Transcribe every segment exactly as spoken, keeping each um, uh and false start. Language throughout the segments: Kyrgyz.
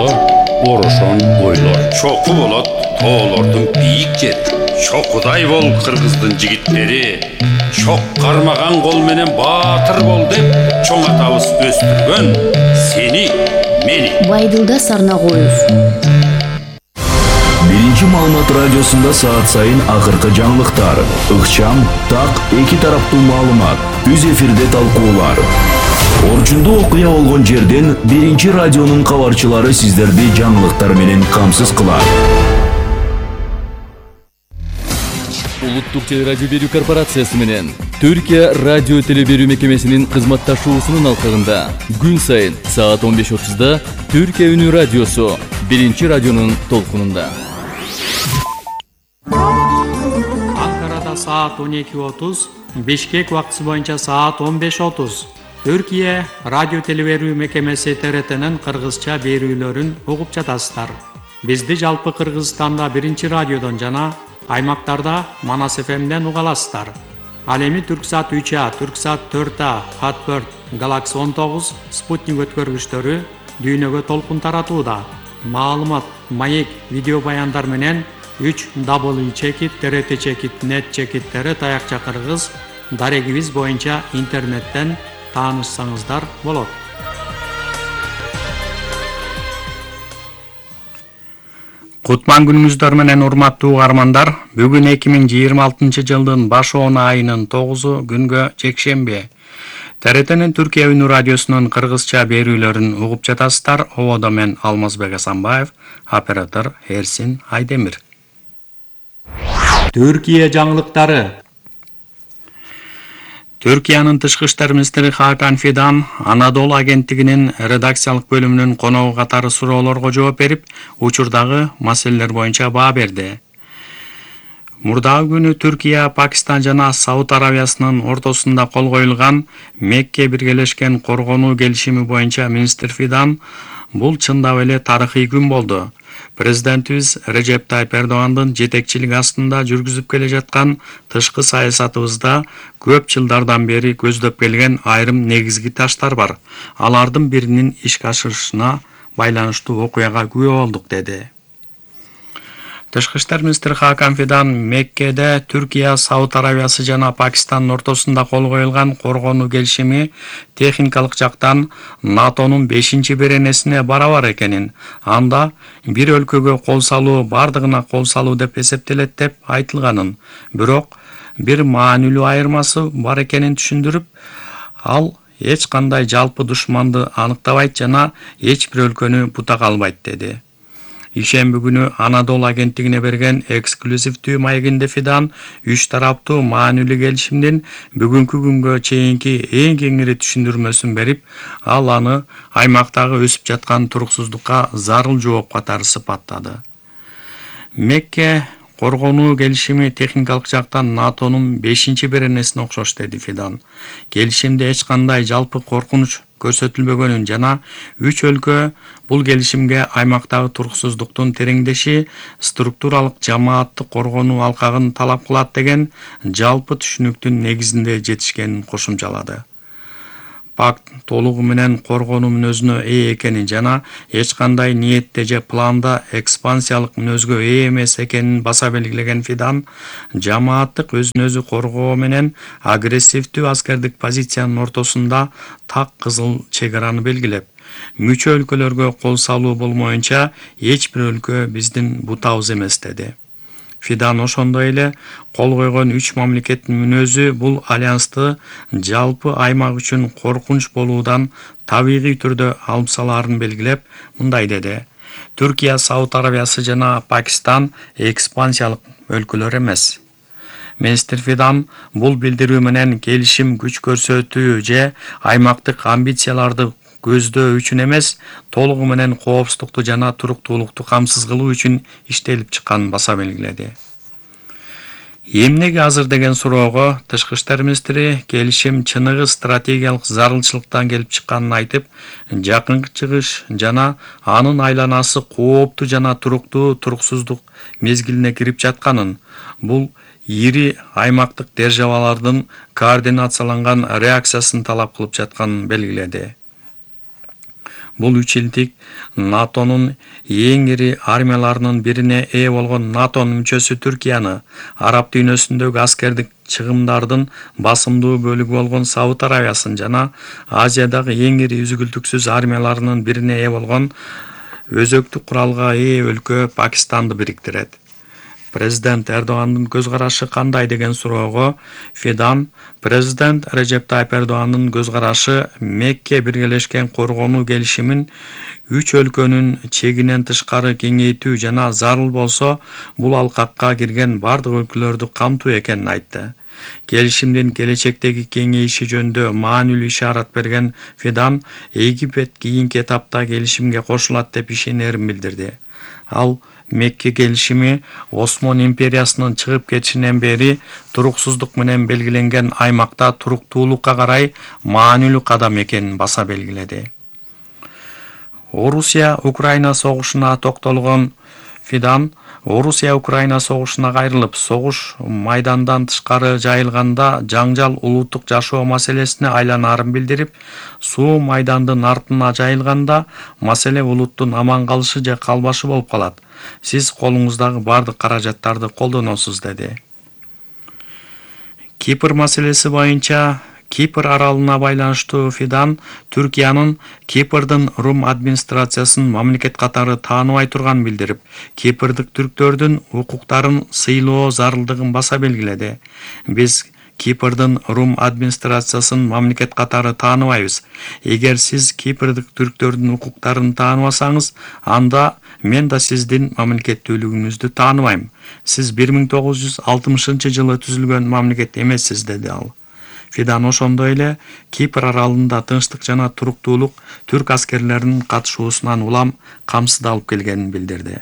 жолдо орошон ойлор чоку болот, тоолордун бийик жери. Чокудай бол кыргыздын жигиттери, чок кармаган кол менен баатыр бол деп чоң атабыз өстүргөн сени, мени. Байдылда Сарнагоев. Биринчи маалымат радиосунда саат сайын акыркы жаңылыктар, ыкчам, так, эки тараптуу маалымат, түз эфирде талкуулар. Орчундуу окуя болгон жерден биринчи радионун кабарчылары сиздерди жаңылыктар менен камсыз кылат. Улуттук телерадио берүү корпорациясы менен Түркия радио телеберүү мекемесинин кызматташуусунун алкагында күн сайын саат он беш отузда Түркия үнү радиосу биринчи радионун толкунунда. Анкарада саат он эки отуз, Бишкек убактысы боюнча саат он беш отуз. Түркия радио телеберүү мекемеси Т Р Т'нин кыргызча берүүлөрүн угуп жатасыздар. Бизди жалпы Кыргызстанда биринчи радиодон жана аймактарда Манас эф эмден уга аласыздар. Ал эми Түрксат үч А, Түрксат төрт А, Хатберт, Галакси он тогуз, Спутник өткөргүчтөрү дүйнөгө толкун таратууда. Маалымат, маек, видео баяндар менен үч дабл чекит Т Р Т чекит нет чекиттери таякча кыргыз дарегибиз боюнча интернеттен таанышсаңыздар болот. Кутман күнүңүздөр менен урматтуу угармандар, бүгүн эки миң жыйырма алтынчы жылдын баш он айынын тогузу күнгө жекшемби. Т Р Т'нин Түркия үнү радиосунун кыргызча берүүлөрүн угуп жатасыздар. Ободо мен Алмазбек Асанбаев, оператор Эрсин Айдемир. Түркия жаңылыктары. Түркиянын тышкы иштер министри Хакан Фидан Анадолу агенттигинин редакциялык бөлүмүнүн коногу катары суроолорго жооп берип, учурдагы маселелер боюнча баа берди. Мурдагы күнү Түркия, Пакистан жана Сауд Аравиясынын ортосунда кол коюлган Мекке биргелешкен коргонуу келишими боюнча министр Фидан бул чындап эле тарыхый күн болду. Президентибиз Режеп Тайып Эрдогандын жетекчилиги астында жүргүзүп келе жаткан тышкы саясатыбызда көп жылдардан бери көздөп келген айрым негизги таштар бар. Алардын биринин ишке ашырышына байланыштуу окуяга күбө болдук, деди. Тышкы иштер министри Хакан Фидан Меккеде Түркия, Сауд Аравиясы жана Пакистандын ортосунда кол коюлган коргонуу келишими техникалык жактан НАТОнун бешинчи беренесине барабар экенин, анда бир өлкөгө кол салуу бардыгына кол салуу деп эсептелет деп айтылганын, бирок бир маанилүү айырмасы бар экенин түшүндүрүп, ал эч кандай жалпы душманды аныктабайт жана эч бир өлкөнү бутак албайт, деди. Ишемби күнү Анадолу агенттигине берген эксклюзивдүү маегинде Фидан үч тараптуу маанилүү келишимдин бүгүнкү күнгө чейинки эң кеңири түшүндүрмөсүн берип, ал аны аймактагы өсүп жаткан туруксуздукка зарыл жооп катары сыпаттады. Мекке коргонуу келишими техникалык жактан НАТОнун бешинчи беренесине окшош, деди Фидан. Келишимде эч кандай жалпы коркунуч көрсөтүлбөгөнүн жана үч өлкө бул келишимге аймактагы туруксуздуктун тереңдеши, структуралык жамааттык коргонуу алкагын талап кылат деген жалпы түшүнүктүн негизинде жетишкенин кошумчалады. Пакт толугу менен коргонуу мүнөзүнө ээ экенин жана эч кандай ниетте же планда экспансиялык мүнөзгө ээ эмес экенин баса белгилеген Фидан, жамааттык өзүн өзү коргоо менен агрессивдүү аскердик позициянын ортосунда так кызыл чек араны белгилеп, мүчө өлкөлөргө кол салуу болмоюнча эч бир өлкө биздин бутабыз эмес, деди. Фидан ошондой эле кол койгон үч мамлекеттин мүнөзү бул альянсты жалпы аймак үчүн коркунуч болуудан табигый түрдө алып салаарын белгилеп, мындай деди. Түркия, Сауд Аравиясы жана Пакистан экспансиялык өлкөлөр эмес. Министр Фидан бул билдирүү менен келишим күч көрсөтүү же аймактык амбицияларды көздөө үчүн эмес, толугу менен коопсуздукту жана туруктуулукту камсыз кылуу үчүн иштелип чыкканын баса белгиледи. Эмнеге азыр деген суроого тышкы иштер министри келишим чыныгы стратегиялык зарылчылыктан келип чыкканын айтып, жакынкы чыгыш жана анын айланасы кооптуу жана туруктуу туруксуздук мезгилине кирип жатканын, бул ири аймактык державалардын координацияланган реакциясын талап кылып жатканын белгиледи. Бул үч илдик НАТОнун эң ири армияларынын бирине ээ болгон НАТОнун мүчөсү Түркияны араб дүйнөсүндөгү аскердик чыгымдардын басымдуу бөлүгү болгон Сауд Арабиясын жана Азиядагы эң ири үзгүлтүксүз армияларынын бирине ээ болгон өзөктүк куралга ээ өлкө Пакистанды бириктирет. Президент Эрдогандын көз карашы кандай деген суроого Фидан президент Режеп Тайып Эрдогандын көз карашы Мекке биргелешкен коргонуу келишимин үч өлкөнүн чегинен тышкары кеңейтүү жана зарыл болсо бул алкакка кирген бардык өлкөлөрдү камтуу экенин айтты. Келишимдин келечектеги кеңейиши жөнүндө маанилүү ишарат берген Фидан Египет кийинки этапта келишимге кошулат деп ишенерин билдирди. Ал Мекке келишими Осмон империясынын чыгып кетишинен бери туруксуздук менен белгиленген аймакта туруктуулукка карай маанилүү кадам экенин баса белгиледи. Орусия Украина согушуна токтолгон Фидан Орусия Украина согушуна кайрылып, согуш майдандан тышкары жайылганда жаңжал улуттук жашоо маселесине айланарын билдирип, суу майдандын артына жайылганда маселе улуттун аман калышы же калбашы болуп калат. Сиз колуңуздагы бардык каражаттарды колдоносуз, деди. Кипр маселеси боюнча Кипр аралына байланыштуу Фидан Түркиянын Кипрдын Рум администрациясын мамлекет катары тааныбай турганын билдирип, Кипрдык түрктөрдүн укуктарын сыйлоо зарылдыгын баса белгиледи. Биз Кипрдын Рум администрациясын мамлекет катары тааныбайбыз. Эгер сиз Кипрдык түрктөрдүн укуктарын тааныбасаңыз, анда мен да сиздин мамлекеттүүлүгүңүздү тааныбайм. Сиз бир миң тогуз жүз алтымышынчы жылы түзүлгөн мамлекет эмессиз, деди ал. Фидан ошондой эле Кипр аралында тынчтык жана туруктуулук түрк аскерлеринин катышуусунан улам камсыздалып келгенин билдирди.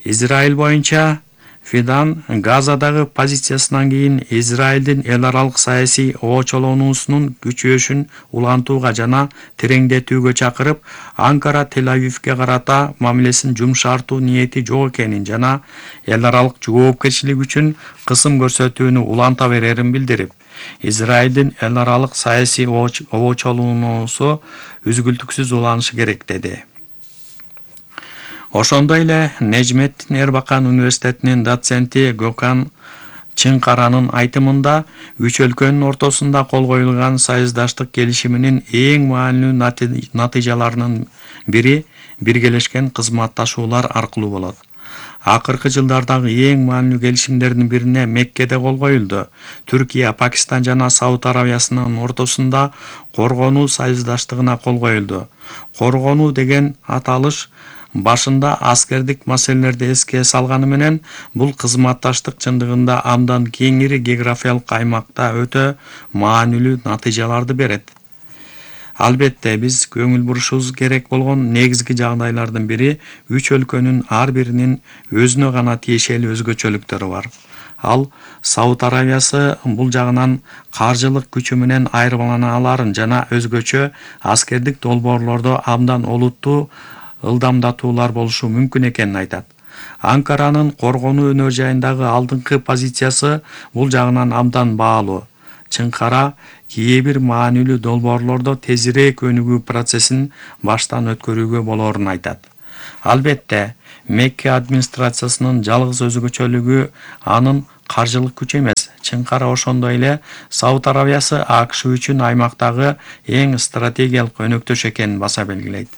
Израиль боюнча Фидан Газадагы позициясынан кийин Израилдин эл аралык саясий оочолонуусунун күчөшүн улантууга жана тереңдетүүгө чакырып, Анкара Тель-Авивге карата мамилесин жумшартуу ниети жок экенин жана эл аралык жоопкерчилик үчүн кысым көрсөтүүнү уланта берерин билдирип, Израилдин эл аралык саясий оочолонуусу үзгүлтүксүз уланышы керек, деди. Ошондой эле Нежметтин Эрбакан университетинин доценти Гокан Чыңкаранын айтымында үч өлкөнүн ортосунда кол коюлган союздаштык келишиминин эң маанилүү натыйжаларынын бири биргелешкен кызматташуулар аркылуу болот. Акыркы жылдардагы эң маанилүү келишимдердин бирине Меккеде кол коюлду. Түркия, Пакистан жана Сауд Арабиясынын ортосунда коргонуу союздаштыгына кол коюлду. Коргонуу деген аталыш башында аскердик маселелерди эске салганы менен бул кызматташтык чындыгында абдан кеңири географиялык аймакта өтө маанилүү натыйжаларды берет. Албетте, биз көңүл бурушубуз керек болгон негизги жагдайлардын бири үч өлкөнүн ар биринин өзүнө гана тиешелүү өзгөчөлүктөрү бар. Ал Сауд Арабиясы бул жагынан каржылык күчү менен айырмалана аларын жана өзгөчө аскердик долбоорлордо абдан олуттуу ылдамдатуулар болушу мүмкүн экенин айтат. Анкаранын коргонуу өнөр жайындагы алдыңкы позициясы бул жагынан абдан баалуу. Чыңкара кээ бир маанилүү долбоорлордо тезирээк өнүгүү процессин баштан өткөрүүгө болоорун айтат. Албетте, Мекке администрациясынын жалгыз өзгөчөлүгү анын каржылык күчү эмес. Чыңкара ошондой эле Сауд Арабиясы АКШ үчүн аймактагы эң стратегиялык өнөктөш экенин баса белгилейт.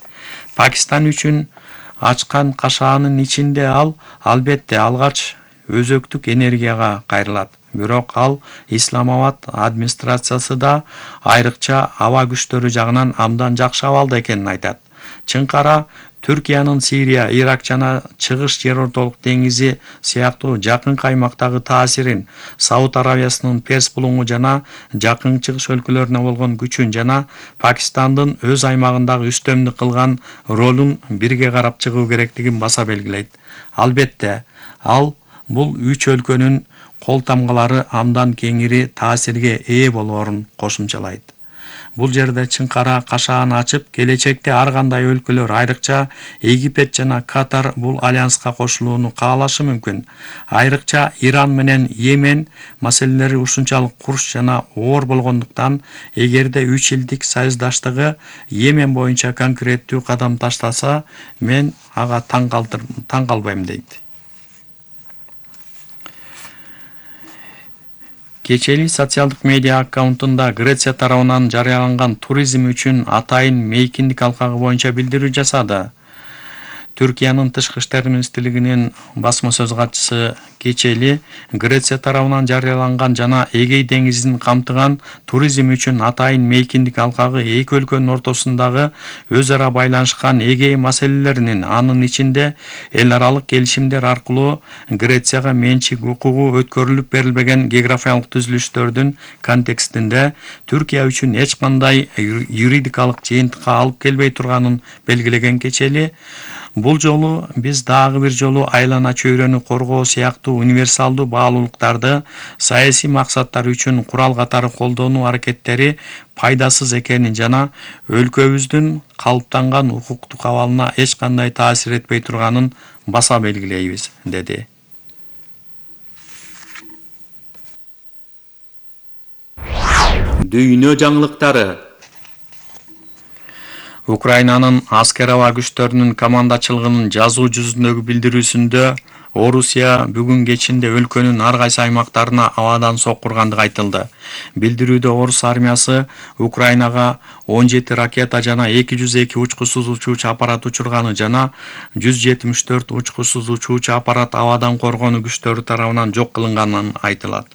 Пакистан үчүн ачкан кашаанын ичинде ал албетте алгач өзөктүк энергияга кайрылат. Бирок ал Исламабад администрациясы да айрыкча аба күчтөрү жагынан абдан жакшы абалда экенин айтат. Чыңкара Түркиянын Сирия, Ирак жана Чыгыш жер ортолук деңизи сыяктуу жакынкы аймактагы таасирин, Сауд Арабиясынын Перс булуңу жана жакын чыгыш өлкөлөрүнө болгон күчүн жана Пакистандын өз аймагындагы үстөмдүк кылган ролун бирге карап чыгуу керектигин баса белгилейт. Албетте, ал бул үч өлкөнүн кол тамгалары абдан кеңири таасирге ээ болоорун кошумчалайт. Бул жерде чыңкара кашаан ачып, келечекте ар кандай өлкөлөр, айрыкча Египет жана Катар бул альянска кошулууну каалашы мүмкүн. Айрыкча Иран менен Йемен маселелери ушунчалык курч жана оор болгондуктан, эгерде үч элдик союздаштыгы Йемен боюнча конкреттүү кадам таштаса, мен ага таң калбайм дейт. Кечели социалдык медиа аккаунтунда Греция тарабынан жарыяланган туризм үчүн атайын мейкиндик алкагы боюнча билдирүү жасады. Түркиянын тышкы иштер министрлигинин басма сөз катчысы Кечели Греция тарабынан жарыяланган жана Эгей деңизин камтыган туризм үчүн атайын мейкиндик алкагы эки өлкөнүн ортосундагы өз ара байланышкан Эгей маселелеринин, анын ичинде эл аралык келишимдер аркылуу Грецияга менчик укугу өткөрүлүп берилбеген географиялык түзүлүштөрдүн контекстинде Түркия үчүн эч кандай юридикалык жыйынтыкка алып келбей турганын белгилеген Кечели, бул жолу биз дагы бир жолу айлана чөйрөнү коргоо сыяктуу универсалдуу баалуулуктарды саясий максаттар үчүн курал катары колдонуу аракеттери пайдасыз экенин жана өлкөбүздүн калыптанган укуктук абалына эч кандай таасир этпей турганын баса белгилейбиз, деди. Дүйнө жаңылыктары. Украинанын аскер аба күчтөрүнүн командачылыгынын жазуу жүзүндөгү билдирүүсүндө Орусия бүгүн кечинде өлкөнүн ар кайсы аймактарына абадан соккургандыгы айтылды. Билдирүүдө Орус армиясы Украинага он жети ракета жана эки жүз эки учкучсуз учуучу аппарат учурганы жана жүз жетимиш төрт учкучсуз учуучу аппарат абадан коргонуу күчтөрү тарабынан жок кылынганын айтылат.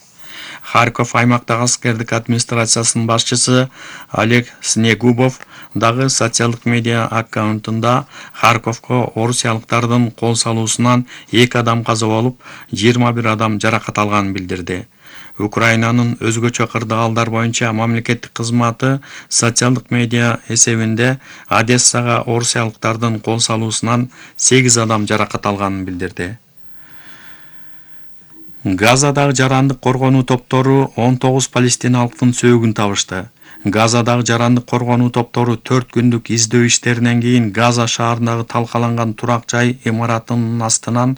Харьков аймактагы аскердик администрациясынын башчысы Олег Снегубов дагы социалдык медиа аккаунтунда Харьковко орусиялыктардын кол салуусунан эки адам каза болуп, жыйырма бир адам жаракат алганын билдирди. Украинанын өзгөчө кырдаалдар боюнча мамлекеттик кызматы социалдык медиа эсебинде Одессага орусиялыктардын кол салуусунан сегиз адам жаракат алганын билдирди. Газадагы жарандык коргонуу топтору он тогуз палестиналыктын сөөгүн табышты. Газадагы жарандык коргонуу топтору төрт күндүк издөө иштеринен кийин Газа шаарындагы талкаланган турак жай имаратынын астынан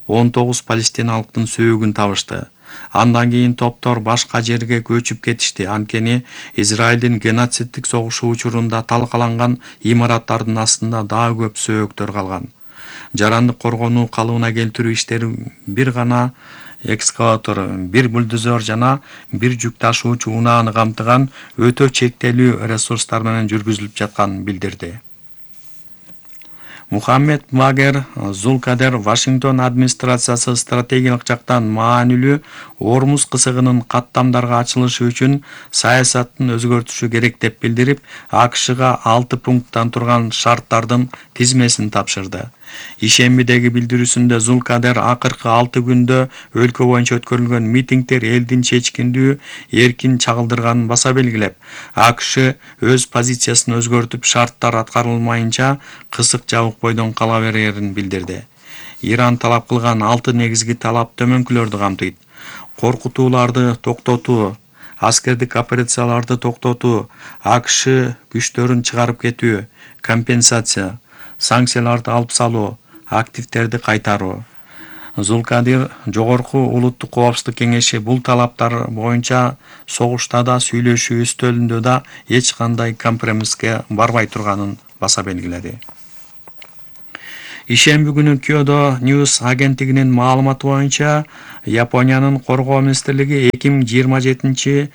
он тогуз палестиналыктын сөөгүн табышты. Андан кийин топтор башка жерге көчүп кетишти, анткени Израилдин геноциддик согушу учурунда талкаланган имараттардын астында дагы көп сөөктөр калган. Жарандык коргонуу калыбына келтирүү иштери бир гана экскаватор, бир бульдозер жана бир жүк ташуучу унааны камтыган өтө чектелүү ресурстар менен жүргүзүлүп жатканын билдирди. Мухаммед Багер Зулкадер Вашингтон администрациясы стратегиялык жактан маанилүү Ормуз кысыгынын каттамдарга ачылышы үчүн саясатын өзгөртүшү керек деп билдирип, АКШга алты пункттан турган шарттардын тизмесин тапшырды. Ишембидеги билдирүүсүндө Зулкадер акыркы алты күндө өлкө боюнча өткөрүлгөн митингдер элдин чечкиндүү, эркин чагылдырганын баса белгилеп, АКШ өз позициясын өзгөртүп, шарттар аткарылмайынча кысык жабык бойдон кала берерин билдирди. Иран талап кылган алты негизги талап төмөнкүлөрдү камтыйт: коркутууларды токтотуу, аскердик операцияларды токтотуу, АКШ күчтөрүн чыгарып кетүү, компенсация, санкцияларды алып салуу, активтерди кайтаруу. Зулкадир жогорку улуттук коопсуздук кеңеши бул талаптар боюнча согушта да, сүйлөшүү үстөлүндө да эч кандай компромисске барбай турганын баса белгиледи. Ишемби күнү Kyodo News агенттигинин маалыматы боюнча Япониянын коргоо министрлиги эки миң жыйырма жетинчи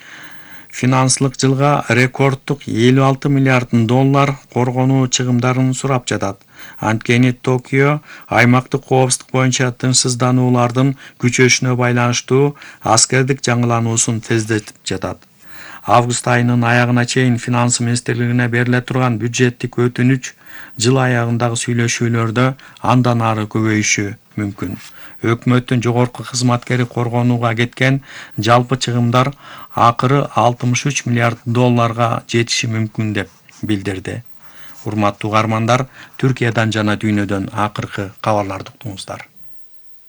финансылык жылга рекордтук элүү алты миллиард доллар коргонуу чыгымдарын сурап жатат. Анткени Токио аймактык коопсуздук боюнча тынчсыздануулардын күчөшүнө байланыштуу аскердик жаңылануусун тездетип жатат. Август айынын аягына чейин финанс министрлигине бериле турган бюджеттик өтүнүч жыл аягындагы сүйлөшүүлөрдө андан ары көбөйүшү мүмкүн. Өкмөттүн жогорку кызматкери коргонууга кеткен жалпы чыгымдар акыры алтымыш үч миллиард долларга жетиши мүмкүн деп билдирди. Урматтуу угармандар, Түркиядан жана дүйнөдөн акыркы кабарларды уктуңуздар.